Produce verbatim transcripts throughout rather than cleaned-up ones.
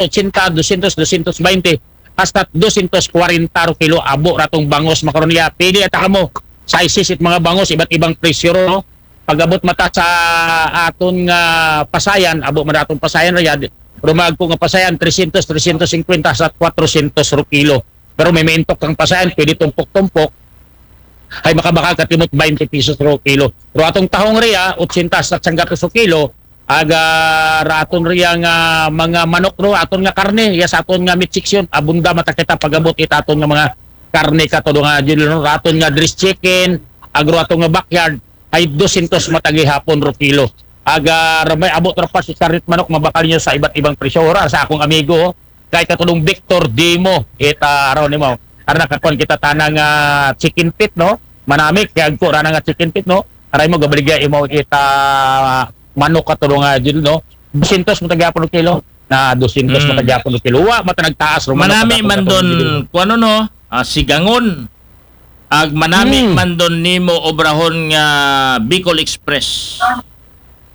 ochenta, dosyentos, dosyentos baynte, hasta dosyentos kwarenta ro kilo abo ra atong bangos makaron. Iya, pili ata kamo sizes it mga bangos, iba't ibang presyo ro, no? Pag-abot mata sa aton nga pasayan, abo man aton pasayan ra iya, ro mga ko nga pasayan, tresyentos, tresyentos singkwenta sa kwatrosyentos ro kilo. Pero may maintok kang pasayan, pwede tumpok-tumpok, ay makabakal ka timot baynte pesos ro kilo. Pero atong tahong riya, ochenta sa sanggatos ro kilo, aga raton riya nga mga manok ro, aton nga karne, iya sa aton nga meat section, abunda mata kita pag-abot it aton nga mga karne kato nga, Jun, ro, aton nga dressed chicken, agro aton nga backyard, ay dosyentos mata gihapon ro kilo. Aga, ramay abot ra pa si karne it manok, mabakal ninyo sa iba't ibang presyo. Ora, sa akong amigo, kay katulong Victor Dimo, ita araw nimo. Ara nakakuan kita tana nga chicken feet, no? Manami, kay agko ra na nga chicken feet, no? Aray mo, gabaligya imo ita manok katulong nga, Jun, no? Dosyentos mata gihapon ro kilo. Na dosyentos mata gihapon ro kilo. Wa mata nagtaas, ro manok. Manami man don, kuno, no? Ah, sigangon. Ag manami man don nimo obrahon nga Bicol Express.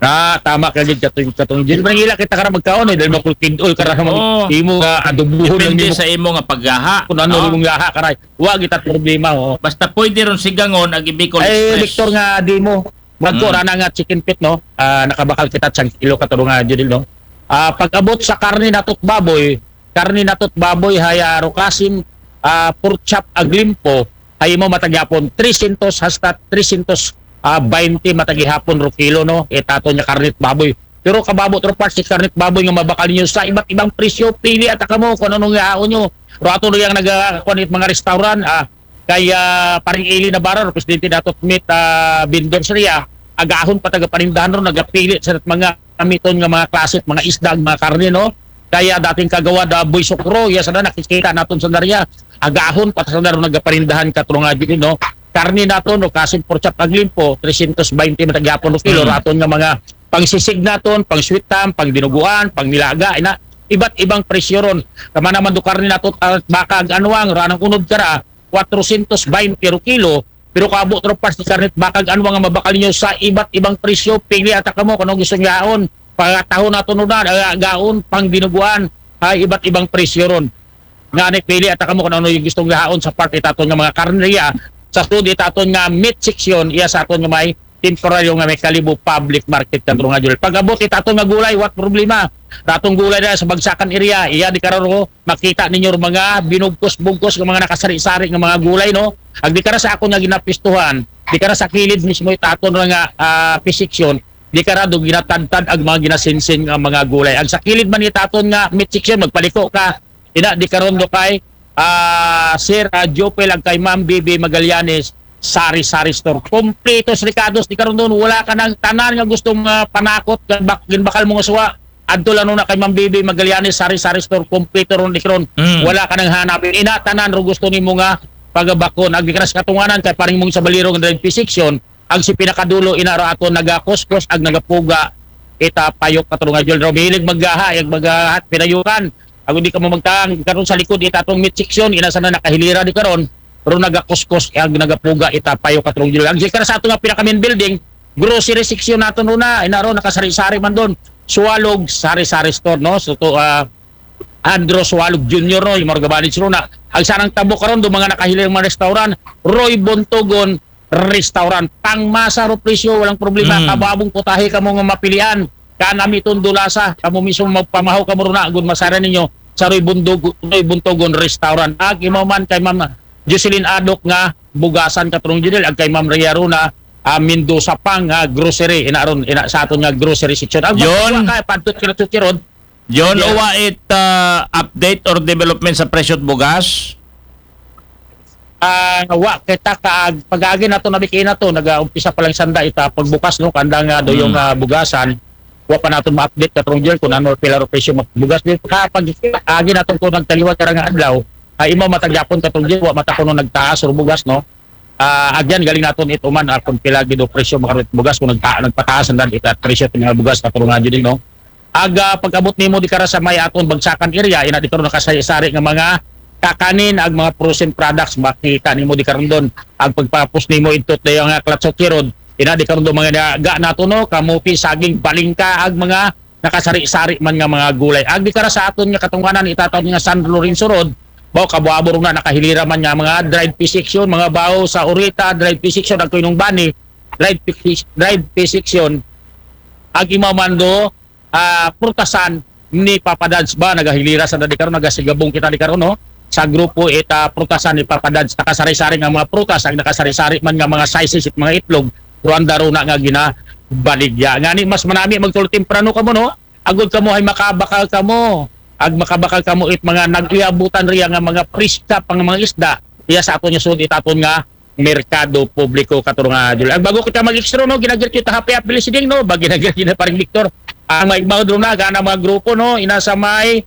Ah, tama ka gid katong, katong Jun. Manangila kita kara magkaon, eh, dahil makulkid-ol kara sa mga imo nga adobuhon. Depende sa imo nga paggaha, kung ano imong gaha, karay. Wa kita problema, oh. Basta pwede ron sigangon ag Bicol Express. Victor nga Dimo. Magko ra na nga chicken feet, no? Ah, nakabakal kita siyang kilo katulong nga, Jun, no? Ah, pag-abot sa karne nato't baboy, karne nato't baboy, haya ro kasim, ah, pork chop ag limpo, hay imo mata gihapon tresyentos hasta tresyentos, ah, baynte mata gihapon ro kilo, no? Itaton nga karne't baboy. Pero kababot ro parts it karne't baboy nga mabakal ninyo sa iba't ibang presyo, pili ata kamo kung anong yaon nyo. Ro ato ro yang nagakuan it mga restaurant, ah, kay, ah, Paring Eli Navarro, presidente nato't meat, ah, vendors riya, agahon pa tagapanindahan ro, nagapili sa mga amiton nga mga klase, mga isda, mga karne, no? Kaya dating kagawad, ah, Boy Sukro, iya sana nakikita naton sa darya, agahon pa sa darya nagapanindahan katulong nga, Jun, no? Karne naton, no, kasim pork chop ag limpo, tresyentos baynte mata gihapon ro kilo, ro aton nga mga pangsisig naton, pang sweet ham, pang dinuguan, pang nilaga, ina, iba't ibang presyo ron. Kama naman do karne naton, ah, baka ag anwang, ro anang unod kara, kwatrosyentos baynte ro kilo, pero kaabot ro parts it karne't baka ag anwang nga mabakal ninyo sa iba't ibang presyo, pili ata kamo kung anong gusto nyo yaon. Pagataho naton ro na, ah, gaon, pang dinuguan, ay iba't ibang presyo ron. Nga ni pili ata kamo kung ano yung gusto nyo yaon sa part itaton nga mga karne riya, sa sud itaton nga meat section, iya sa aton nga may temporaryo nga may Kalibo public market katulong nga, Jun. Pag-abot itaton nga gulay, wa problema. Ratong gulay na sa Bagsakan area, iya di kara ro, makita ninyo ro mga binugkos-bugkos nga mga nakasari-sari nga mga gulay, no? Ag di kara sa akon nga ginapistuhan, di kara sa kilid mismo itaton ra nga, ah, fish section, di kara do ginatadtad ag mga ginasinsin nga mga gulay. Ag sa kilid man itaton nga meat section, magpaliko ka, ina di karon do kay, ah, Sir, ah, Jopel ag kay Ma'am Bibi Magallanes, sari-sari store. Kompletos rekados di karon don, wala ka nang tanan nga gusto nga panakot, ginbak-, ginbakal mo nga suwa. Adto lang na kay Ma'am Bibi Magallanes, sari-sari store, kompleto ron di karon. Wala ka nang hanapin. Ina, tanan ro gusto nimo nga pagabakon. Ag di kara sa katunganan kay Paring Mong Sabalero nga drive fish section, ag si pinakadulo, ina, ro aton nagakuskos ag nagapuga ita payok katulong nga, Jun, ro. Mahilig maggaha, ag maggaha it pinayukan. Ag di kamo magtaang, karon sa likod itaton meat section, ina sana nakahilira di karon, ro nagakuskos ag nagapuga ita payok katulong, Jun. Ag di kara sa ato nga pinaka main building, grocery section naton ro na, ina, ro nakasari-sari man don. Suwalog, sari-sari store, no? So to, ah, Andro Suwalog Junior, no, yung mga gabanits ro na. Ag sanang tabok karon do mga nakahilira mga restaurant, Roy Bontogon Restaurant. Pangmasa ro presyo, walang problema. Kababong putahe kamo nga mapilian. Kanami ton dulasa, kamo mismo magpamahaw kamo ro na, gun masara ninyo sa Roy Bundog-, Roy Bontogon Restaurant. Ag imaw man kay Ma'am Jocelyn Adok nga bugasan katulong, Jun, ag kay Ma'am Rhea ro na, ah, Mendoza pang, ah, grocery, ina ron, ina sa aton nga grocery section. Ag magpagawa ka, padtot ka na sa Road, Jun, uwa it, ah, update or development sa presyo't bugas? Ah, wa kita ka pag-agi nato, nabiki nato, nag-umpisa pa lang sanda ita pagbukas, no, kanda nga do yung, ah, bugasan. Wa pa naton ma-update katong, Jun, kung ano pila ro presyo magbugas. Di ka pag-agi nato kung nagtaliwat ka nga adlaw, ay imo mata gyapon katong, Jun, wa mata kuno nagtaas or bugas, no? Ah, agyan, galing naton ituman, ah, kung pila gid o presyo makarit bugas, kung nagta-, nagpataas ang dan ita presyo sa mga bugas katong nga, Jun, no? Aga pag-abot nimo di kara sa may aton Bagsakan area, ina di karon nakasari-sari nga mga kakanin ag mga frozen products, makita nimo di karon don. Ag pagpapos nimo idto dayon nga Clatsote Road, ina di karon don mga daga nato, no, kamupi, saging, balingka ag mga nakasari-sari man nga mga gulay. Agi kara sa aton nga katungkanan, itaton nga San Lorenzo Road, bao kabuabor na nakahilira man nga mga dried fish section, mga bao sa Orita, dried fish section, ang Kuinong Bani, dried fish, dried fish section, ag imaw man do, ah, prutasan ni Papa Dads ba, nagahilira sa di karon, nagasigabong kita di karon, no? Sa grupo ita prutasan ni Papa Dads, nakasari-sari nga mga prutas, ang nakasari-sari man nga mga sizes it mga itlog, ruanda runa nga ginabaligya. Ngani mas manami magtulo temprano kamo, no? Agod kamo hay makabakal kamo. Ag makabakal kamo it mga nag-iabutan riya nga mga preska pang mga isda. Iya sa aton nga sud itaton nga merkado publiko kato nga July. Ag bago kita mag-extra, no, ginagir kita happy happy listening, no? Ba ginagir kita paring Victor. Ang maigmaw doon na, gana mga grupo, no? Ina sa may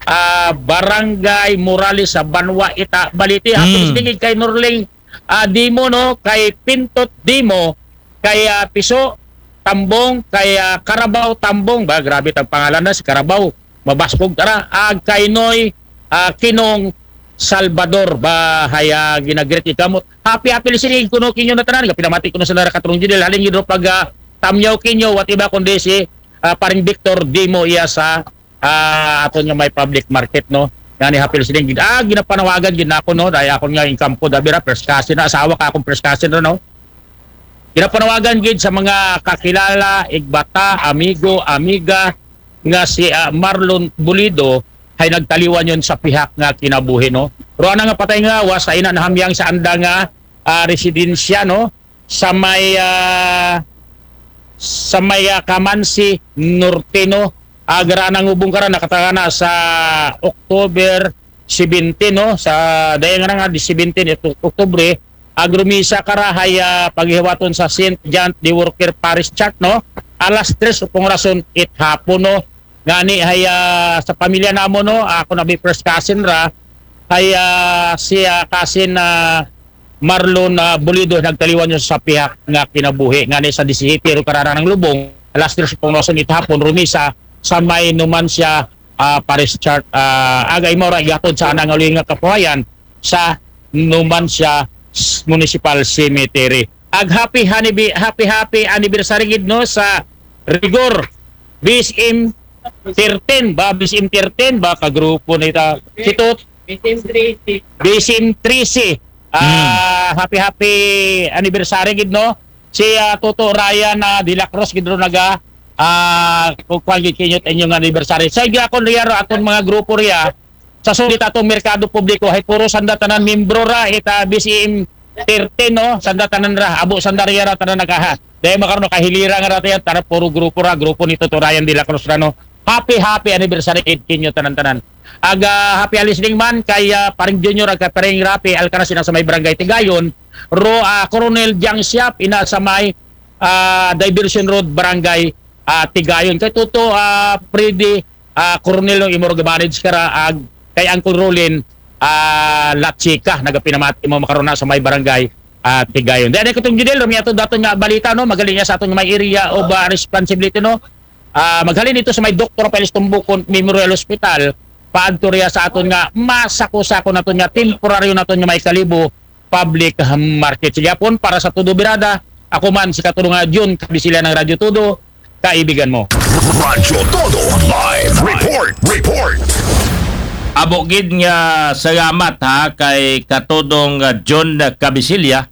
ah, Barangay Morales sa Banwa ita Balite. Happy Mm. listening kay Norling ah, Dimo, no? Kay Pintot Dimo, kay ah, Piso Tambong, kay ah, Karabaw Tambong. Ba, grabe tang pangalan na si Karabaw. Mabaskog tara. Ag kay Noy ah, Kinong Salvador. Ba, haya ginagreet ikamot. Happy, happy listening kuno kinyo na tanan. Pinamati kuno sa nara katrong Judel. Halin yun pag ah, tamyaw kinyo, what iba kundi si ah, paring Victor Dimo iya sa ah, aton nga may public market, no? Ngani happy listening. Ah, ginapanawagan gid nako, no? Dahil akon nga inkampo, dabi ra, first cousin na, asawa ka akong first cousin ra, no? Ginapanawagan gid sa mga kakilala, igbata, amigo, amiga nga si ah, Marlon Bulido ay nagtaliwan yon sa pihak nga kinabuhi, no? Pero ana nga patay nga was ay na nahamyang sa anda nga ah, residensya, no? Sa may ah, sa may ah, Kamansi Norte, no? Agara nang ubong kara nakatagana sa October seventeen, no? Sa dayang nga nga di seventeen ito Oktubre, agrumisa kara hay ah, paghiwaton sa Saint John the Worker Parish Church, no? Alas tres upong rason it hapon, no? Ngani hay ah, sa pamilya namo, no? Ako na bi first cousin ra hay ah, si ah, cousin na Marlon ah, Bulido nagtaliwan niya sa pihak nga kinabuhi ngani sa disihiti ro karana ng lubong alas tres pong rason it hapon rumisa sa may Numancia ah, Parish Church ah, agay mo ra igatod sa anang uli nga kapuhayan sa Numancia Municipal Cemetery. Ag happy hanibi, happy happy anniversary gid, no, sa Rigor B S M thirteen ba, B S M thirteen ba ka grupo nita si Tot B S M thirteen. B S M thirteen. Ah, happy happy anniversary gid, no? Si ah, Toto Ryan na De La Cruz gid ro naga ah kung kuan gid kinyo inyong anniversary. Sa so, akon riya ro aton mga grupo riya sa sulit atong merkado publiko hay puro sanda tanan membro ra ita B S M thirteen, no? Sanda tanan ra, abo sanda riya ra tanan nagaha. Dahil makaroon kahilira nga ra tayo, tara puro grupo ra, grupo ni Toto Ryan De La Cruz ra, no? Happy happy anniversary gid kinyo tanan-tanan. Aga happy listening man kay ah, paring Junior ag kay paring Rapi Alcaraz ina sa may barangay Tigayon. Ro ah, Coronel Jang Siap ina sa may ah, Diversion Road, barangay ah, Tigayon. Kay Toto ah, Freddy ah, Coronel no imor manage kara ag kay Uncle Rolin ah, Latsika nagapinamati mo makarona sa may barangay ah, Tigayon. Dahil katong Judel, rumiato dato nga balita, no? Magaling niya sa atong may area of ah, responsibility, no? Ah, maghalin ito sa may Doktor Rafael Tumbukon Memorial Hospital, paadto riya sa aton nga masako-sako naton nga temporaryo naton nga may Kalibo public market. Sige hapon para sa Todo Birada, ako man si Katulong nga Jun, kabisila ng Radyo Todo, kaibigan mo. Radyo Todo Live Report. Report. Abo gid nga salamat ha kay Katodong ah, John Cabisilla.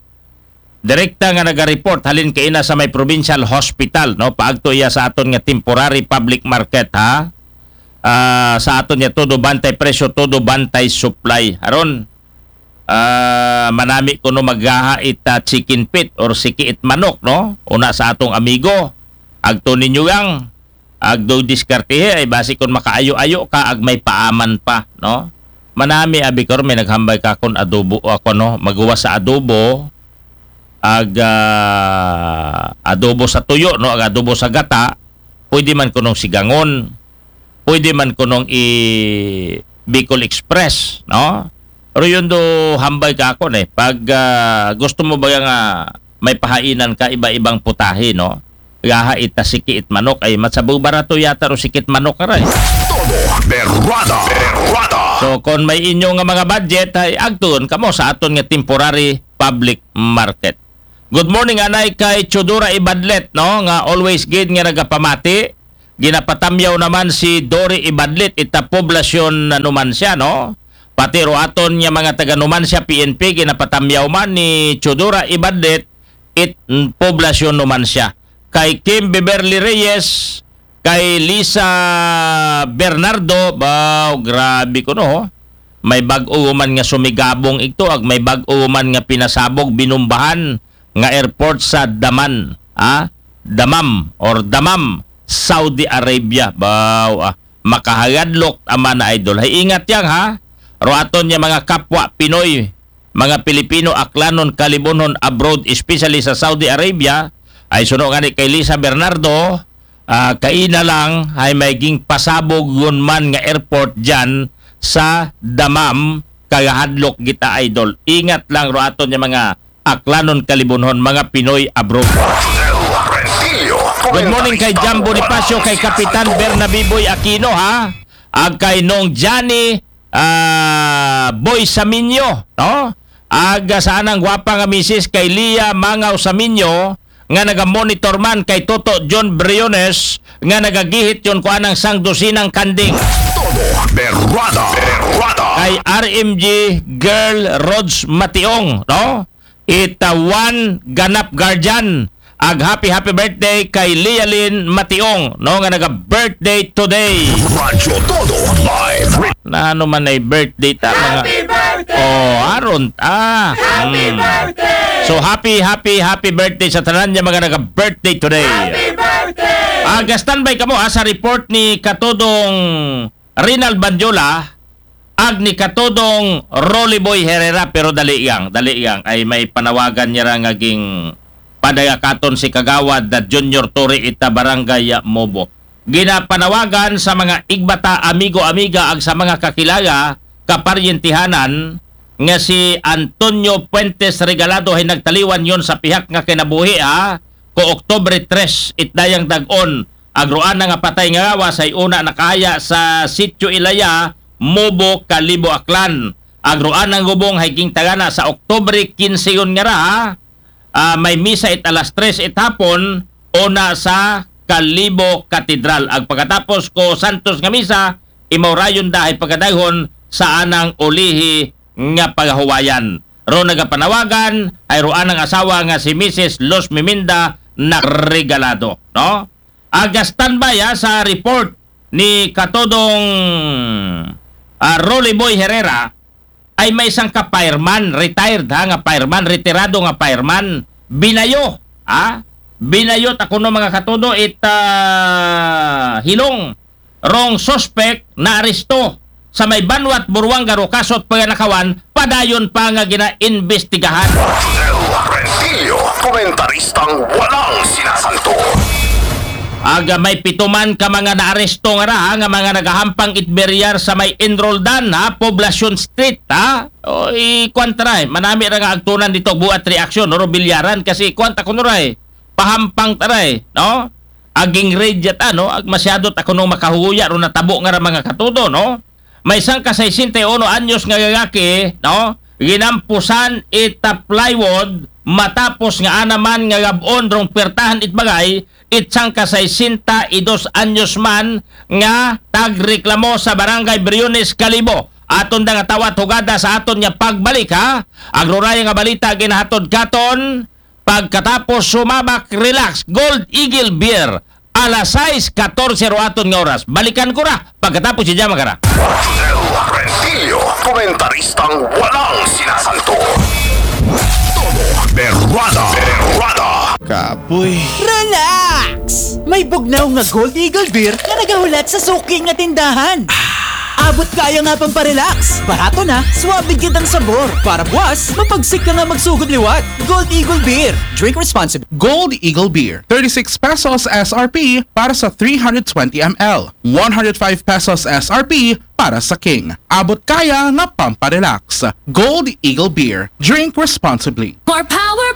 Direkta nga naga-report halin kaina sa may provincial hospital, no? Paagto iya sa aton nga temporary public market, ha. Ah, sa aton nga todo bantay presyo, todo bantay supply. Aron ah, manami kuno maggaha ita chicken feet or siki it manok, no? Una sa atong amigo, agto ninyo yang agdo diskartehe ay basi kun makaayo-ayo ka ag may paaman pa, no? Manami abi karon may naghambay ka kun adobo ako, no, maguwa sa adobo ag ah, adobo sa tuyo, no, ag adobo sa gata, pwede man kunong sigangon, pwede man kunong i Bicol Express, no? Pero yun do hambay ka ako eh. Pag ah, gusto mo ba nga may pahainan ka iba-ibang putahe, no? Gaha ita siki it manok ay matsabaw barato yata ro sikit manok aray. Todo Berrada. Berrada. So kung may inyo nga mga budget ay agtun kamo sa aton nga temporary public market. Good morning anay kay Chodora Ibadlet, no, nga always gid nga nagapamati. ginapatamyaw naman si Dory Ibadlit, ita poblasyon na Numancia, no? Pati ro aton nga mga taga Numancia P N P, ginapatamyaw man ni Chodora Ibadlit, it poblasyon Numancia. Kay Kim Beverly Reyes, kay Lisa Bernardo, baw, grabe ko, no? May bag-o man nga sumigabong igto, ag may bag-o man nga pinasabog, binumbahan nga airport sa Daman, ah? Damam or Damam, Saudi Arabia. Baw, ah, makahayadlok ta man, idol. Hay ingat yang, ha? Ro aton nga mga kapwa Pinoy, mga Pilipino, Aklanon, Kalibonhon abroad, especially sa Saudi Arabia, ay suno nga ni kay Lisa Bernardo, ah, kaina lang ay may ging pasabog yun man nga airport dyan sa Damam, kagahadlok kita, idol. Ingat lang ro aton nga mga Aklanon, Kalibonhon, mga Pinoy abroad. Good morning kay Jam Bonifacio, kay Kapitan Bernabe Boy Aquino, ha? Ag kay Nong Johnny, ah, Boy Saminyo, no? Ag sa anang gwapa nga misis kay Lia Mangaw Saminyo, nga naga-monitor man kay Toto John Briones, nga nagagihit yon ko anang sangdusinang kanding. Todo Berwada. Berwada. Kay R M G Girl Rods Mationg, no? Ita Juan Ganap Guardian, ag happy, happy birthday kay Lialin Mationg, no, nga naga-birthday today. Radyo Todo Live. Na ano man ay birthday ta, mga... Happy birthday! Oh, aron ta. Happy Mm. birthday! So, happy, happy, happy birthday sa tanan nga mga naga-birthday today. Happy birthday! Aga, standby kamo, ah, sa report ni Katodong Rinald Banjola, ag ni Katodong Rolly Boy Herrera, pero dali yang, dali yang, ay may panawagan niya ra nga ging padayakaton si Kagawad na Junior Torre ita Barangay Mobo. Ginapanawagan sa mga igbata, amigo, amiga, ag sa mga kakilala, kaparyentihanan, nga si Antonio Puentes Regalado ay nagtaliwan yon sa pihak nga kinabuhi, ha, ko Oktubre tres, itdayang dag-on, agroan na nga patay nga gawas ay una nakaya sa Sitio Ilaya, Mobo, Kalibo, Aklan. Agroan ang gubong hay gintagana sa Oktubre kinse yon nga ra, ha? Ah, may misa it alas tres it hapon, una sa Kalibo Katedral. Ag pagkatapos ko Santos nga misa, imaw rayon da ay pagkadayhon sa anang ulihi nga pagahuwayan. Ro nagapanawagan ay ro anang asawa nga si Misis Luz Miminda na Regalado, no? Aga, standby, ha, sa report ni Katodong, ah, Rolly Boy Herrera, ay may isang ka fireman, retired, ha, nga fireman, retirado nga fireman, binayo, ha? Binayo ta kuno, mga katodo, it, ah, hilong rong suspect na aresto sa may Banwat, Buruanga, ro kasot paganakawan, padayon pa nga gina-imbestigahan. Rodel Rentillo, komentaristang walang sinasanto. Aga, may pito man ka mga naaresto nga ra, ha, nga mga nagahampang it biryar sa may Enroldan, ha, Poblacion Street, ha? O, i-, kuwan ta ra, eh. Manami ra nga agtunan dito, buat reaksyon, no? Bilyaran, kasi kuwan ta kuno ra, eh. Pahampang ta ra, eh, no? Aging raid yata, no? Ag masyado ta kuno makahuya ro natabo nga ra, mga katodo, no? May sangka sesenta y uno anyos nga lalaki, no? Ginampusan ita plywood matapos nga ana man nga gab-on rong puwertahan it bagay, it sangka sesenta y dos anyos man nga tagreklamo sa Barangay Briones, Kalibo. Aton da nga tawat hugada sa aton nga pagbalik, ha? Ang ruraya nga balita ginahatod katon pagkatapos sumabak, relax, Gold Eagle Beer, alas sais katorse ro aton nga oras. Balikan ko ra pagkatapos si Jama Kara. Rodel Rentillo, komentaristang walang sinasanto. Todo Berwada. Berwada. Kapoy. Relax! May bugnaw nga Gold Eagle Beer nga nagahulat sa suki nga tindahan. Abot kaya nga pamparelax. Barato na, suabe gyud ang sabor. Para buwas, mapagsik ka nga magsugod liwat. Gold Eagle Beer. Drink responsibly. Gold Eagle Beer, thirty-six pesos S R P para sa three hundred twenty M L, one hundred five pesos S R P para sa King. Abot kaya nga pamparelax. Gold Eagle Beer. Drink responsibly. More power,